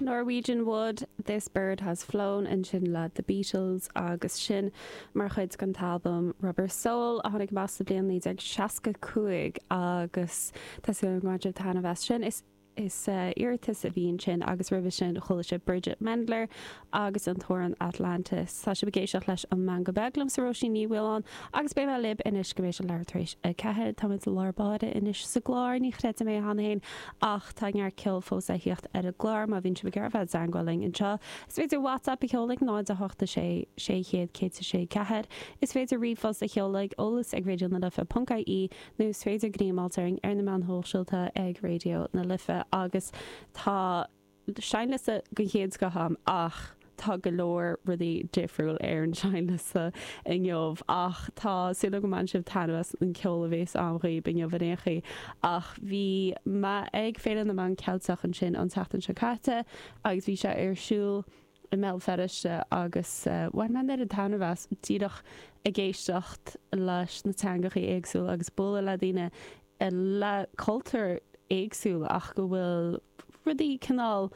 Norwegian Wood, This Bird Has Flown ansin le The Beatles agus sin mar chuid den t-albam Rubber Soul a tháinig amach sa bhliain 1965 agus tá súil agam go mbain sibh taitneamh as sin. Is Is iarratas a bhí ansin agus roimhe sin chuala sibh Bridget Mendler agus an t-amhrán Atlantis. Tá sibh ag éisteacht leis An Meangadh Beag liomsa Róisín Ní Mhaoláin agus beidh mé libh anois go mbeidh sé leathuair tar éis 4. Táimid i lár báire anois sa gclár, ní chreidim é cheana féin ach tá neart ceoil fós le thíocht ar an gclár má bhíonn sibh ag iarraidh bheith i dteangmháil linn anseo. Is féidir WhatsApp a sheoladh 0 8 6 600 106 4. Is féidir ríomhphost a sheoladh ag eolas ag raidionalife.ie nó is féidir gníomh a fháilt orainn ar na meáin shóisialta ag Raidió na Life agus tá seinnliosta den chéad scoth agam ach tá go leor rudaí difriúil ar an seinnliosta inniu ach tá súil agam go mbainfidh sibh taitneamh as an ceol a bhéas agam dhaoib inniu in aon chaoi. Ach bhí mé ag Féile na Meán Ceilteach ansin an tseachtain seo caite agus bhí sé ar siúl i mBéal Feirste agus bhain mé an oiread taitneamh as díreach ag éisteacht leis na teangachaí éagsúla agus bualadh le daoine le cultúr éagsúil ach go bhfuil rudaí cineál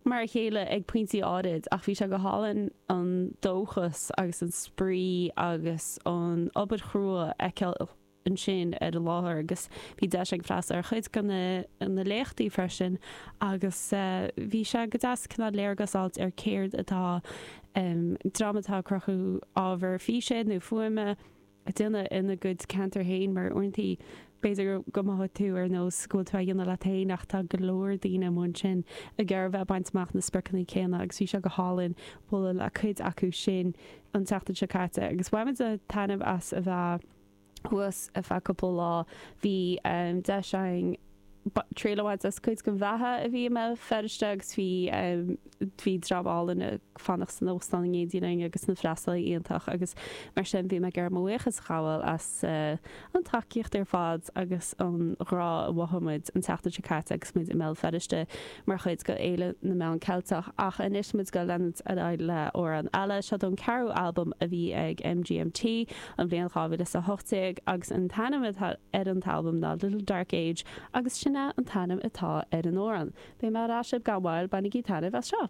mar a chéile ag pointí áirid ach bhí sé go hálainn an dóchas agus an spraoi agus an obair chrua a fheiceáil ansin ar an láthair agus bhí deis agam freastal ar chuid de na léachtaí freisin agus bhí sé go deas cineál léargas a fháilt ar céard atá dream atá ag cruthú ábhar físe nó fuaime ag déanamh ina gcuid ceantar féin mar uaireanta b'fhéidir go mothóidh tú ar nós go bhfuil tú á dhéanamh leat féin ach tá go leor daoine amuigh ansin ag iarraidh bheith ag baint amach na spriocanna céanna agus bhí sé go hálainn bualadh le cuid acu sin an tseachtain seo caite agus bhain muid taitneamh as a bheith thuas ar feadh cúpla lá. Bhí deis againn triail a bhaint as cuid den bheatha a bhí i mBéal Feirste agus bhí bhí dream álainn ag fanacht san óstán in éindí linn agus na freastalaithe iontach agus mar sin bhí mé ag iarraidh mo bhuíochas a ghabháil as an tacaíocht ar fad agus an ghrá a mhothaigh muid an tseachtain seo caite agus muid i mBéal Feirste mar chuid de Fhéile na Meán Ceilteach. Ach anois muid ag leanúint ar aghaidh le amhrán eile. Seo ón ceathrú albam a bhí ag MGMT. an bhliain 2018 agus an t-ainm atá ar an t-albam ná Little Dark Age agus sin é an t-ainm atá ar an amhrán. Beidh mé ar ais libh gan mhoill, bainigí taitneamh as seo!